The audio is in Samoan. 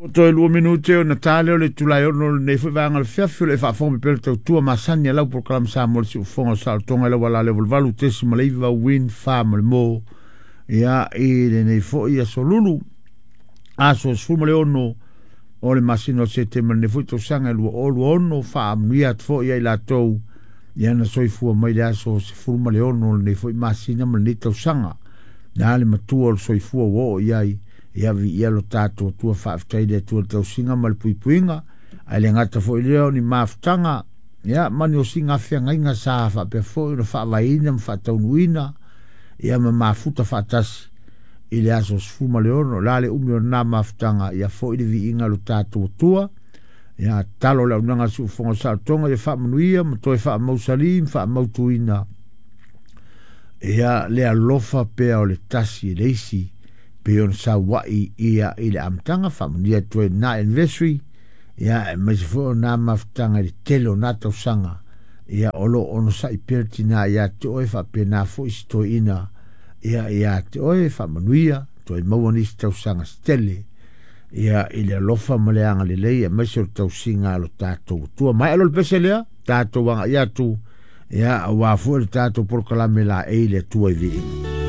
Ua toe 2 minute ona ta lea o le itula e 6 o lenei foi vaega o le afiafi o le faafofoga mai pea le tautua masani a lau polokalame Samoa le siufofoga o saolotoga i lau ala lea 88.9 Win 4 ma le mo ia i lenei foi aso Lulu aso 16 o le masina o Setema lenei foi tausaga e 2026. Faamanuia atu foi ia i latou ia na soifua mai le aso 16 o lenei foi masina ma lenei tausaga. Na le matua o le soifua ua oo i ai ia viia lo tatou Atua, faafetai le Atua i le tausiga ma le puipuiga, ae le gata foi lea o ni mafutaga ia ma ni osiga feagaiga sa faapea foi ona faavaeina ma faataunuuina ia ma mafuta faatasi i le aso 16. La le umi o lena mafutaga ia foi le viiga lo tatou Atua. Ia talo le aunaga siufofoga o saolotoga ia faamanuia ma toe faamausali ma faamautuina ia le alofa pea o le tasi e le isi pe ona saua'i ia i le amataga. Faamanuia atu ai lena anniversary ia aemaise foi o na mafutaga i le tele o na tausaga ia o lo o onosai pea le tina ia te oe, faapena foi si toeaina ia ia te oe. Faamanuia toe maua nisi tausaga se tele ia i le alofa ma le agalelei aemaise o le tausiga a lo tatou Atua. Maea loa le pese lea tatou agai atu ia aua foi le tatou polokalame laei le Atua i viiga.